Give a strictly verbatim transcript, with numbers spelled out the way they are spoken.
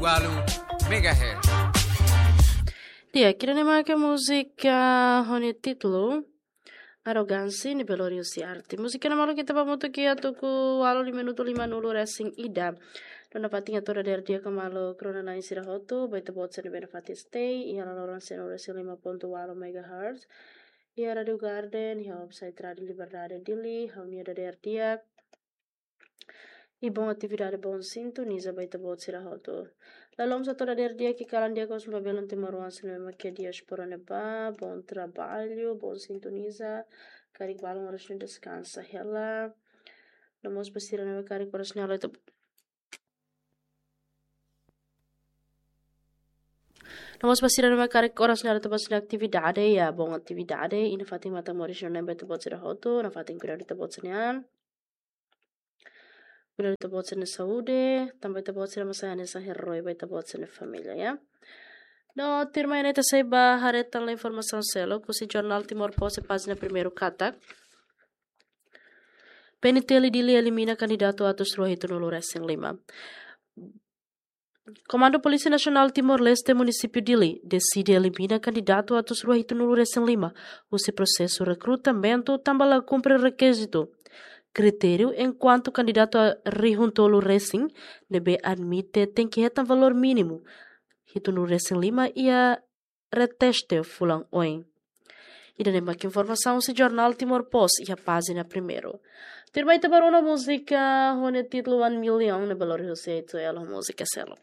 Walu megahertz. Di'ak, ida-ne'e mak múzika ho nia títulu Arrogansi, ne'ebé lori husi Arty. Múzika ne'e maluk ita ba hamutuk iha tuku ualu lima minutu lima nulu resin ida. No nafatin hato'o dadeer di'ak ka maluk rona-na'in sira hotu, ba ita-boot sira ne'ebé nafatin stay iha laloran sanulu resin lima pontu ualu megahertz. Iha Rádio Garden, iha website Rádio Liberdade Dili, ha'u-nia dadeer di'ak. I bom atividade, bom sintoniza ba ita-boot sira hotu. Lalom sa toda der dia ki kalan dia kos ba belun timoroan sira ne'ebé mak iha diáspora ne'ebá, bom trabalho, bom sintoniza, karik balun oras ne'e deskansa hela. No mós ba sira ne'ebé karik oras ne'e halo ita No mós ba sira ne'ebé karik oras ne'e halo ita-boot sira-nia atividade, iha bom atividade, i nafatin matan moris no ne'ebé ita-boot sira hotu, nafatin kuidadu ita-boot sira-nian. Kuidadu ita-boot sira-nia saúde, tanba ita-boot sira mós sai hanesan herói ba ita-boot sira-nia família, ya. No tuirmai ne'e ita sei ba haree tan informasaun seluk, husi jornál Timor Post pájina primeiru katak. P N T L Dili elimina kandidatu atus rua hitunulu resin lima. Komandu Polísia Nasionál Timor-Leste Munisípiu Dili deside elimina kandidatu atus rua hitunulu resin lima husi prosesu rekrutamentu tanba la kumpre rekizitu, kritériu, enkuantu kandidatu rihun tolu resin ne'ebé admite tenke hetan valór mínimu hitunulu resin lima iha reteste fulan oin. Ida-ne'e mak informasaun husi jornál Timor Post iha pájina primeiru. Tuirmai ita ba rona múzika ho nia títulu One Million ne'ebé lori husi Eto'o ho múzika seluk.